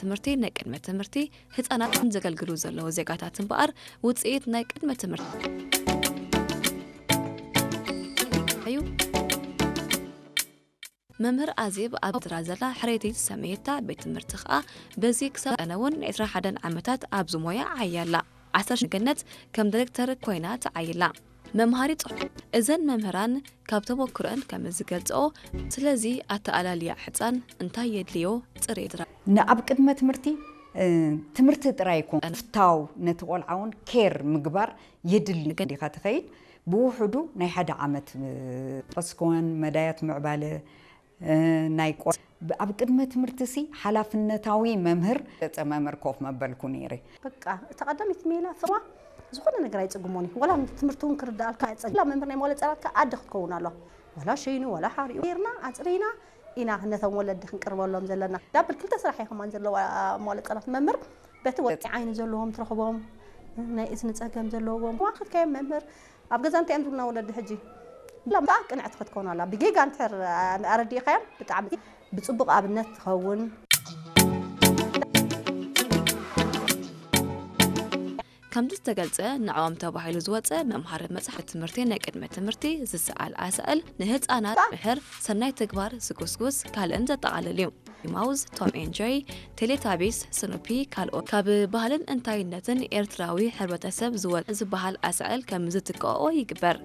ትምህርቲ ናይ ቅድመ ትምህርቲ ህፃናትን ዘገልግሉ ዘለዉ ዜጋታት እምበኣር ውፅኢት ናይ ቅድመ ትምህርቲ እዩ። መምህር ኣዜብ ኣብ ዝራ ዘላ ሕሬቲ ዝሰመየታ ቤት ትምህርቲ ከኣ በዚ ክሳብ ቀነ እውን ዕስራ ሓደን ዓመታት ኣብዚ ሞያ ዓያላ። ዓሰርተ ገነት ከም ዲሬክተር ኮይና ተዓይላ። መምሃሪ ጽሑፍ እዘን መምህራን ካብ ተመኩረን ከም ዝገልጽኦ፣ ስለዚ ኣተኣላልያ ሕጻን እንታይ የድልዮ ጽሬት ራ ንኣብ ቅድመ ትምህርቲ ትምህርቲ ጥራይ ይኮን ፍታው ነቲ ቆልዓ እውን ኬር ምግባር የድሊ። እንዲኻ ትኸይድ ብውሕዱ ናይ ሓደ ዓመት ቀስኮን መዳያት ምዕባለ ናይ ቆ ኣብ ቅድመ ትምህርቲ ሲ ሓላፍነታዊ መምህር ገጸ መምህር ኮፍ መበልኩ ነይረ። በቃ እታ ቀዳመይቲ ሜላ ፍርዋ ዝኾነ ነገር ኣይጽግሞን እዩ። ወላ ትምህርቲ እውን ክርዳኣልካ ኣይጸግላ መምህር ናይ መዋለ ህጻናትካ ኣደ ክትከውን ኣለዋ። ወላ ሸይኑ ወላ ሓሪኡ ጌርና ኣጽሪና ኢና ነቶም ወለዲ ክንቅርበሎም ዘለና። ዳብል ክልተ ስራሕ እየ ከማን ዘለዋ መዋለ ህጻናት መምህር በቲ ወ ዓይኒ ዘለዎም ትረኽቦም ናይ እዝኒ ጸገም ዘለዎም ዋክልካዮም መምህር ኣብ ገዛ እንታይ እዮም ዝብሉና ወለዲ ሕጂ ላምታ ቅንዕቲ ክትከውን ኣላ ብጌጋ እንድሕር ኣረዲእካዮም ብጣዕሚ ብጽቡቕ ኣብነት ትኸውን። ከምቲ ዝተገልጸ ንዕኦም ተባሂሉ ዝወጸ መምሃሪ መጽሓፍ ትምህርቲ ናይ ቅድመ ትምህርቲ ዝሰኣል ኣሳእል ንህፃናት ምሕር ሰናይ ተግባር ዝጉስጉስ ካልእን ዘጠቓልል እዩ። ማውዝ፣ ቶም ኤን ጀሪ፣ ቴሌታቢስ፣ ስኑፒ ካልኦት ካብ ባህልን እንታይነትን ኤርትራዊ ሕብረተሰብ ዝወ ዝበሃል ኣሳእል ከም ዝትክኦ ይግበር።